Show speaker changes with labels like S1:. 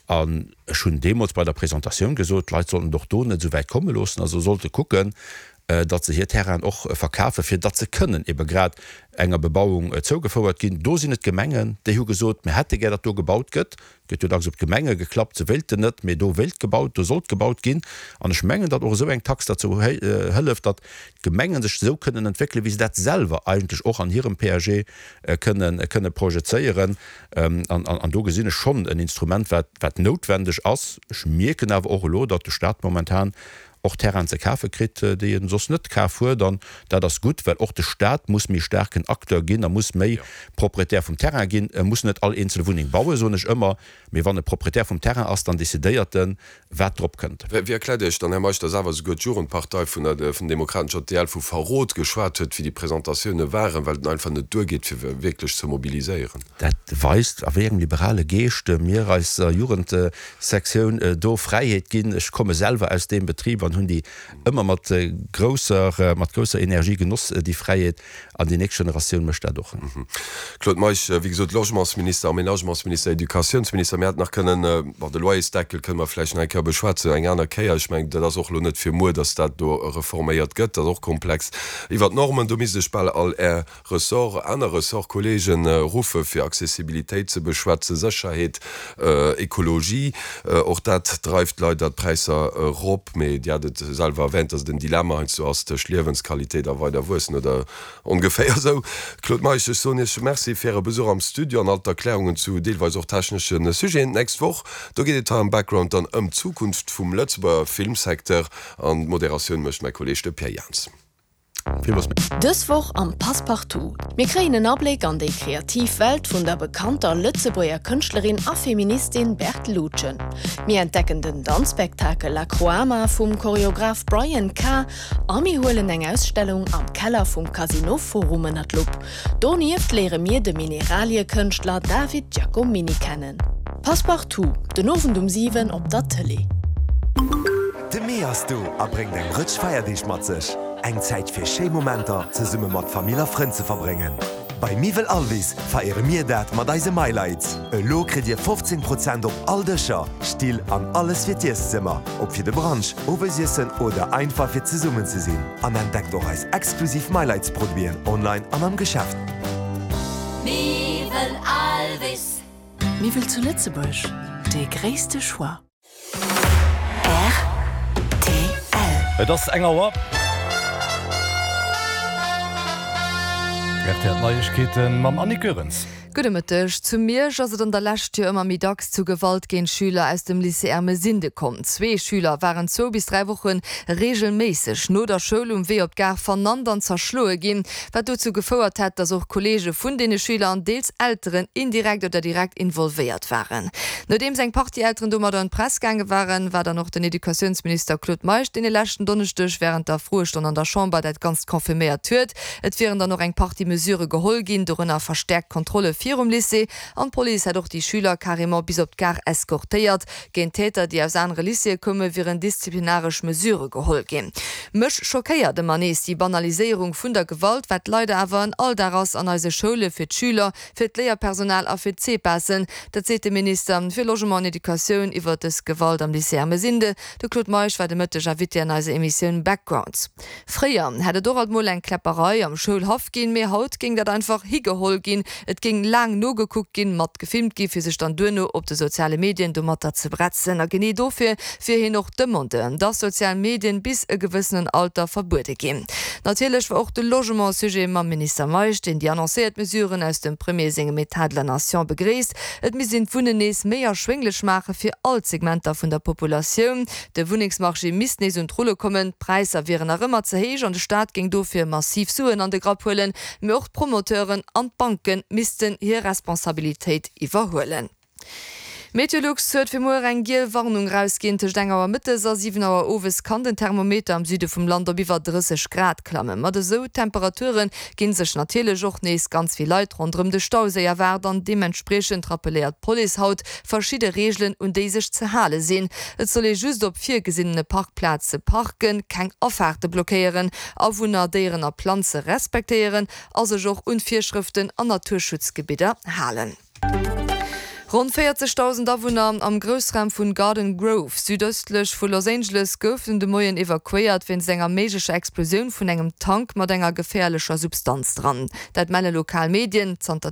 S1: An ech hunn deemools bei der Presentatioun gesot, d'Leit sollten et och do net esou wäit komme loossen, also sollte kucken, datt se hir Terrainen och verkafen, fir datt se kënnen ebe grad enger Bebauung zougefouert ginn. Do sinn et d'Gemengen, déi hu gesot, mir hätte gär, datt do gebaut gëtt. Et gëtt jo dacks op d'Gemenge geklappt, se wéilten net, mee do wéilt gebaut, do sollt gebaut ginn. An ech mengen, datt och esou eng Tax derzou hëlleft, datt d'Gemengen sech esou kënnen entwéckelen, wéi se dat selwer eigentlech och an hirem PAG kënnen, kënne projezéieren. An, an do gesinn ech schonn en Instrument, wat, wat noutwendeg ass. Ech mierken awer och elo, datt de Stat momentan och Terrainen ze kafe kritt, déi en soss net kaf huet. An dat ass gutt, well och de Stat muss méi staarken Acteur ginn a muss méi Proprietär vum Terrain ginn. E muss net all eenzel Wunneng bauen, soen ech ëmmer, mee wann e Proprietär vum Terrain ass, dann decidéiert en, wat drop kënnt.
S2: Wéi erkläert Dir Iech dann, Här Meisch, datt awer esouguer d'Jugendpartei vun der vun Demokraten, JDL, vu Verrot geschwat huet, wéi déi Presentatioune waren, well et einfach net duergeet, fir wierklech ze mobiliséieren?
S1: Dat weist, a wéi engem liberale Geescht mir eiser Jugendsektioun do Fräiheet ginn. Ech komme selwer aus deem Betrib an hunn déi ëmmer mat grousser, mat grousser Energie genoss, déi Fräiheet. An déi nächst Generatioun mécht dat och.
S2: Claude Meisch, Wéi gesot, Logementsminister, Aménagementsminister, Educatiounsminister. Mir hätten nach kënnen, bon, de Loyersdeckel kënne mer vläicht nach eng Kéier beschwätzen, eng aner Kéier. Ech mengen, dat ass och elo net fir muer, datt dat do reforméiert gëtt. Dat ass och komplex. Iwwert d'Normen, do misst ech bal all Är Ressort, aner Ressortkollegen ruffe fir Accessibilitéit ze beschwätzen, Sécherheet, Ekologie, och dat dreift leider d'Präisser erop. Mee Dir hat et selwer erwähnt, datt et en Dilemma heiansdo ass tëscht Liewensqualitéit a weider wuessen oder ongeféier esou. Claude Meisch, ech soen Iech Merci fir Äre Besuch am Studio an all d'Erklärungen zu deelweis och technesche Sujeten. D'nächst Woch, do geet et hei am Background dann ëm d'Zukunft vum Lëtzebuerger Filmsecteur an d'Moderatioun mécht mäi Kolleeg de Pierre Jans.
S3: Dës Woch am Passepartout, Mir kréien en Abléck an déi kreativ Welt vun der bekannter Lëtzebuerger Kënschtlerin a Feministin Berthe Lutgen. Mir entdecken den Danzspektakel La Croama vum Choreograph Brian K. A mir huelen eng Ausstellung am Keller vum Casino Forum ënner d'Lupp. Donieft léiere mir de Mineraliekënschtler David Giacomini kennen. Passepartout, den Owend um 7 op der Tëlee.
S4: De Mee ass do a bréngt eng Rëtsch Feierdeeg mat sech. Eng Zäit fir schéi Momenter zesumme mat Famill a Frënn ze verbréngen. Bei Miwwel Alvis feiere mir dat mat eise MyLights. Elo kritt Dir 15 Prozent op all Dëscher, Still an alles fir d'Ieszëmmer, ob fir de Brunch, Owesiessen oder einfach fir zesummen ze sinn. An entdeckt och eis exklusiv MyLights Produiten online an am Geschäft.
S5: Miwwel Alvis.
S6: Miwwel zu Lëtzebuerg, dee gréisste Choix.
S7: Rtl.
S8: Et ass eng Auer. Rtl Neiegkeeten mam Annick Goerens.
S9: Gudde Mëtteg. Zu Miersch ass et an der Lescht jo ëmmer méi dacks zu Gewalt géint Schüler aus dem Lycée Ermesinde komm. Zwee Schüler waren zwou bis 3 Woche reegelméisseg no der Schoul um Wee op d'Gare vernannt an zerschloe ginn, wat dozou gefouert hätt, datt och Kolleege vun deene Schüler an deels Elteren indirekt oder direkt involvéiert waren. Nodeems eng Partie Elteren domadder un d'Press gaange waren, war dann och den Educatiounsminister Claude Meisch, deen e leschten Donneschdeg wärend der Froestonn an der Chamber dat Ganzt confirméiert huet. Et wieren dann och eng Partie Mesurë geholl ginn, dorënner verstäerkt Kontrolle virum Lycée an d'Police hätt och déi Schüler carrément bis op d'Gare eskortéiert. Géint Täter, déi aus anere Lycéeë koume wieren disziplinaresch Mesurë geholl ginn. Mech schockéiert ëmmer nees déi Banaliséierung vun der Gewalt, wat leider awer en Alldag ass an eise Schoule fir d'Schüler, fir d'Léierpersonal a fir d'CPASen. Dat seet de Minister fir Logement an Educatioun iwwer dës Gewalt am Lycée Ermesinde. De Claude Meisch war de Mëtteg Invité an eiser Emissioun Backgrounds. Fréier hätt et och alt mol eng Kläpperei am Schoulhaff ginn, mee haut géing dat einfach higeholl ginn. Et géing laang nogekuckt ginn, mat gefilmt gi fir sech dann duerno op de soziale Medien domatter ze bretzen. A genee dofir wier hien och Demandeur, dass sozial Medien bis e gewëssenen Alter verbuede ginn. Natierlech war och de Logement Sujet mam Minister Meisch, deen déi annoncéiert Mesuren aus dem Premier sengem Etat de la Nation begréisst. Et misst een d'Wunnen nees méi erschwénglech maache fir all d'Segmenter vun der Populatioun. De Wunnengsmarché misst nees un d'Rulle kommen, d'Präisser wieren nach ëmmer ze héich an de Staat géing dofir massiv Suen an de Grapp huelen. Mee och d'Promoteuren an d'Banke missten hir Responsabilitéit iwwerhuelen. Meteolux huet fir muer eng giel Warnung erausginn. Tëscht eng Auer mëttes a 7 Auer owes kann den Thermometer am Süde vum Land op iwwer 30 Grad klammen. Mat esou Temperature ginn sech natierlech och nees ganz vill Leit ronderëm de Stauséi erwaart an deementspriechend rappeléiert d'Police haut verschidde Reegelen un déi sech ze hale sinn. Et soll ee just op virgesinnene Parkplaze parken, keng Afaarte blockéieren, Awunner, Déieren a Planze respektéieren a sech och un d'Virschrëften an Naturschutzgebidder halen. Ronn 40.000 Awunner am Groussraum vun Garden Grove, südëstlech vu Los Angeles, goufen de Moien evakuéiert wéinst enger méiglecher Explosioun vun engem Tank mat enger geféierlecher Substanz dran. Dat melle lokal Medien. Zanter.